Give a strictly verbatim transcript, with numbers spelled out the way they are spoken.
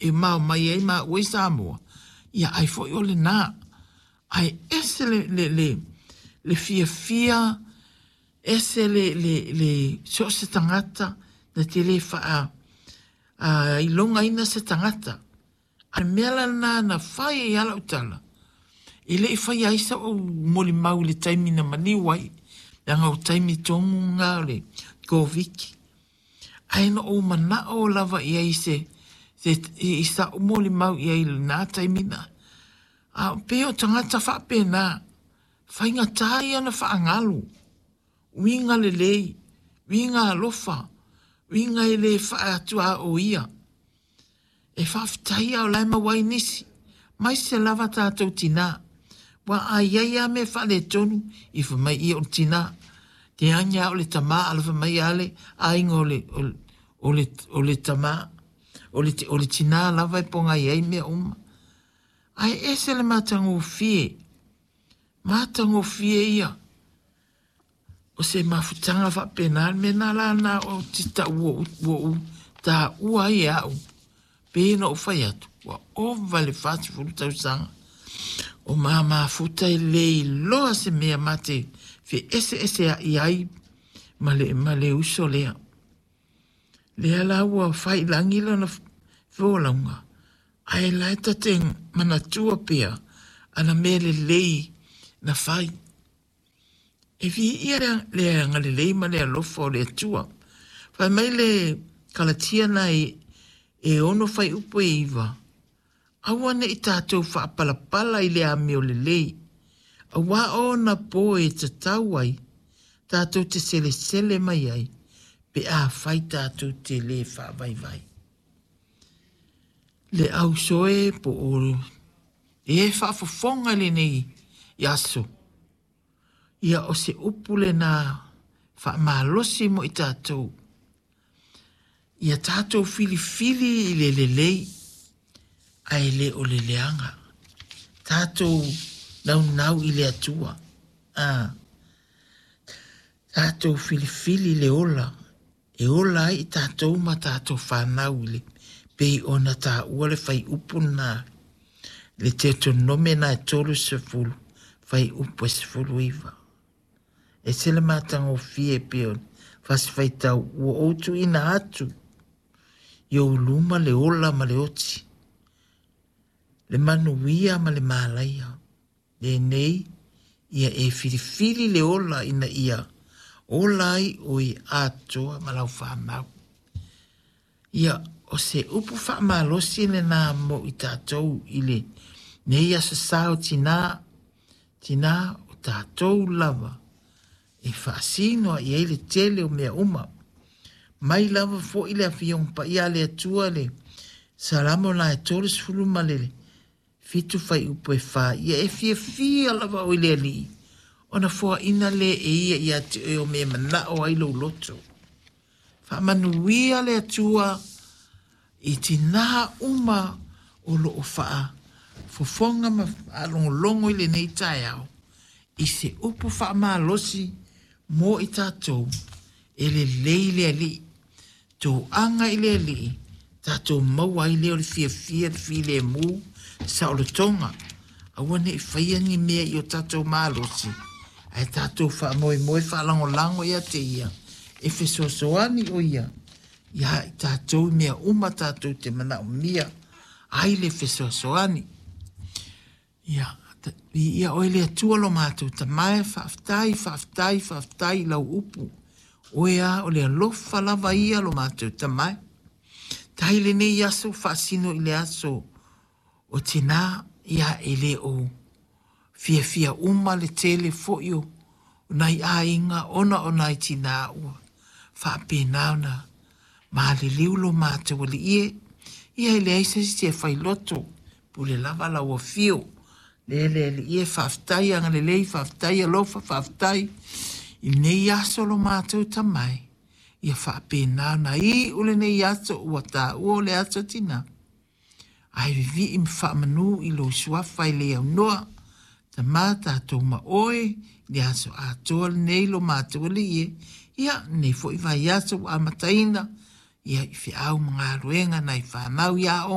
e mao mai ai maua i Samoa, ia ai foi o lena. Ae ese le, le, le, le fiafia, ese le, le, le so o se tagata na te le faa a, ilogaina se tagata. A mea la lena na fai ai lava lau tala, e le i faia ai so'u molimau i le taimi na maliu ai, leaga o taimi tonu lena o le Koviti. Ae na ou mana'o lava i ai i se, se i sa'u molimau i ai i lena taimi na. A pei o tagata faapena, faigata ia ona faagalu, uiga lelei, uiga alofa, uiga e le faaatuaoia. E faafetai a o la e maua ai nisi, maise lava tatou tinā. Ua a i ai lava mea faaletonu, i fai mai ia o le tinā. Te age lava o le tamā, a fai mai lava le aiga o le, o le, o le, o le tamā. O le, o le tinā lava e pogai ai mea uma. Ae ese le matagofie, matagofie ia. O se mafutaga faapena le mea na la na o te taua ua ou taua ai e au. Pei ona ou fai atu, ua ova le fasefulu tausaga. O ma mafuta e le iloa se mea ma te feeseesea'i ai ma le, ma le uso lea. Lea la ua fai i lagi lona folauga, ae la e ta te manatua pea ana mea lelei na fai. E viia le, le agalelei ma le alofa o le Atua. Fai mai le Kalatia na e, e ono fuaiupu e iva, aua ne'i tatou faapalapala i le amio lelei, auā ona po e tatau ai, tatou te selesele mai ai, pe afai tatou te lē faavaivai. Le auso e po o e faafofoga i lenei aso, ia o se upu lena faamalosi mo i tatou. Ia tatou filifili i le lelei, ae le o le leaga. Tatou naunau i le Atua. Ah. Tatou filifili le ola, e ola ai i tatou ma tatou fanau i le pei ona taua le fuaiupu lena, le Teutonome na e tolu sefulu, fuaiupu e sefulu iva. Ese le matagofie pei o fasi faitau ua ou tuuina atu i ou luma le ola ma le oti, le manuia ma le malaia. Lenei, ia e filifili le ola ina ia ola ai oe atoa ma lau fanau. Ia, o se upu faamalosi lena mo i tatou i lenei aso sa o tinā, tinā o tatou lava e faasino i ai le tele o mea uma. Mai lava foi le afioga paia a le Atua le Salamo la e tolu ma le fitu fuaiupu e fa. Ia e fiafia lava oe i le Alii, ona foaina lea e ia ia te oe o mea manao ai lou loto. Faamanuia le Atua i tinā uma o loo faafofoga ma faalogologo i lenei taeao i se upu faamalosi mo i tatou e lelei le Alii. Toaga i le Alii, tatou maua ai lea o le fiafia le filemu saolotoga. Aua ne'i faia ni mea i o tatou malosi, ae tatou faamoemoe faalagolago ia te ia, e fesoasoani o ia ia i tatou i mea uma tatou te manaomia ai le fesoasoani. Ia, viia oe le Atua lo matou Tama e, faafetai, faafetai, faafetai i lau upu. Oe a o le alofa lava ia lo matou Tama e. Tai lenei aso faasino i le aso o tinā, ia e le o fiafia uma le tele foi o nai aiga ona o nai tinā ua faapena ona maliliu lo matou Alii e. Ia e leai se isi e failoto, pule lava lau afio. Le le Alii e, faafetai agalelei, faafetai alofa, faafetai i lenei aso lo matou Tama e. Ia faapena ona iu lenei aso ua taua o le aso tinā. Ae vivii ma faamanu i lou suafa e le aunoa. Tama tatou ma oe i le aso atoa lenei lo matou Alii e. Ia, lenei foi vaiaso ua amataina, ia i feau ma galuega nai fanau i aoga.